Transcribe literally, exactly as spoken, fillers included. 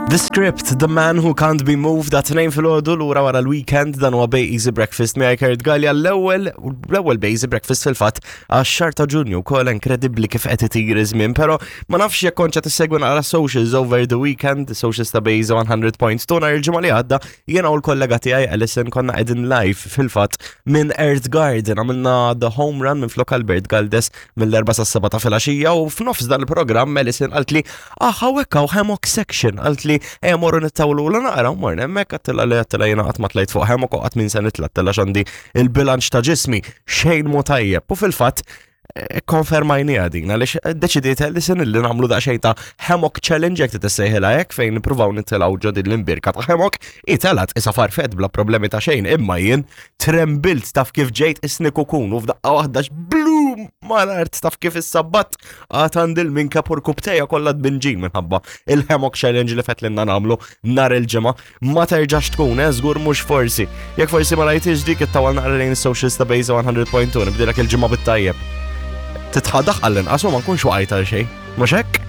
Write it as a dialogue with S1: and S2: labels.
S1: The Script, The Man Who Can't Be Moved, dat tnejn filgħodu lura wara l-weekend. Dan huwa Bay Easy Breakfast miegħi Kurt Gallia, l-ewwel l-ewwel Bay Easy Breakfast fil-fatt għax-xahar ta' Ġunju wkoll. Inkredibbli kif qed itir iż-żmien, però ma nafx jekk kontx qed issegwi naqra socials over the weekend, socials ta' Bay Easy one hundred point two. Nhar il-ġimgħa li għadda jiena u l-kollega tiegħi Alison konna qegħdin live fil-fatt minn Earth Garden, għamilna the home run minn flok Albert Galdes mill-erbgħa sas-sebgħa ta' filgħaxija u f'nofs dan il-programm Alison qalt li, "Ah, hawnhekk hawn hammock section," qalt li, "Ejja morru nittawlu la naqra," u morna hemmhekk. Għedtilha li għedtilha jiena qatt ma tlajt fuq hammock u qatt minn se nitla', għedtilha x'għandi il-bilanċ ta' ġismi xejn mhu tajjeb. U fil-fatt konfermajni għadin, għaliex deċidiet li sen li nagħmlu daqsxejn ta' hammock challenge, jekk tissejħilha hekk, fejn nippruvaw nitilgħu ġo din l-imbirka ta' hammock. Telgħet isa farfett bla problemi ta' xejn, imma jien trembilt, taf kif ġejt isni kukun u f'daqqa waħda blum mal-art, taf kif is-sabbat għad għandi l-minka purkubtejja kollha tbinġin minħabba il-hammock challenge li fetlinna nagħmlu nhar il-ġimgħa. Ma terġax tkun, eh, żgur mhux forsi. Jekk forsi ma rajtix dik, ittawal naqra lejn is-socials ta' Bejza one hundred point two. Nibdilek il-ġimgħa bit-tajjeb. Titħadaħ għall-inqas u ma nkunx waqajt għal xejn. Mhux hekk?